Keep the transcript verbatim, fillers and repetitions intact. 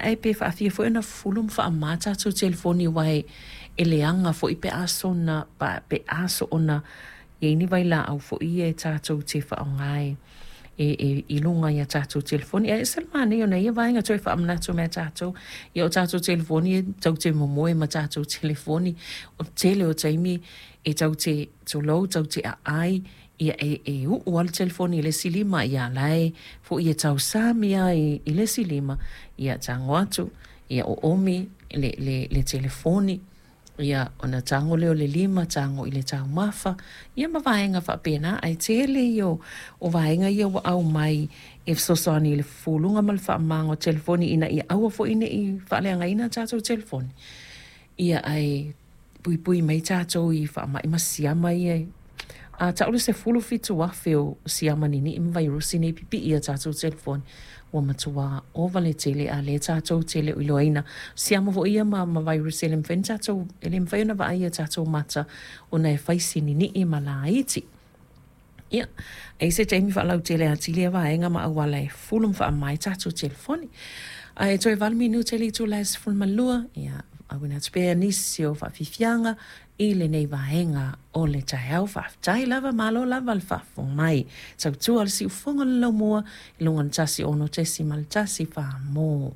Ae pe faafia foi ona fufulu ma faamama tatou telefoni aua e e leaga foi pe a soona pe a soona i ai ni vailaau foi ia e tatou te faaaoga e e i luga i a tatou telefoni. Ae ese le manaia ona ia vaega toe faamanatu mai ia tatou, ia o tatou telefoni e tatou te momoe ma tatou telefoni. O le tele o taimi e tatou te tulou tatou te aai, ia e, e uu lava le telefoni i le isi lima, ia la e foi e tausami lava i, i le isi lima, ia tago atu, ia oomi le, le, le telefoni, ia ona tago lea o le lima tago i le taumafa, ia ma vaega faapena. Ae tele ia o, o vaega ia ua aumai e fesoasoani i le fufuluga ma le faamamaina o telefoni ina ia aua foi ne i faaleagaina tatou telefoni. Ia ae puipui mai tatou i faamai ma siama ia a tau le sefulu fitu afe o siama ninii ma vairusi nei pipii ia tatou telefoni ua matua ova le tele a lea tatou te le o iloaina. Siama foi ia ma, ma vairusi e le mafai ona tatou e le mafai ona vaai ia tatou mata ona e fai si ninii ma laiti. Ia, e i se taimi faalautele atili ia vaega ma auala e fufulu ma faamama ai tatou telefoni. Ae toe valu minute le itula e sefulu ma lua, ia, auina atu pea nisi o faafiafiaga i lenei vaega o le taeao. Faafetai lava, malo lava le faafofoga mai. Tautua le siufofoga le laumua i luga o le tasi ono tesi ma le tasi fa mo.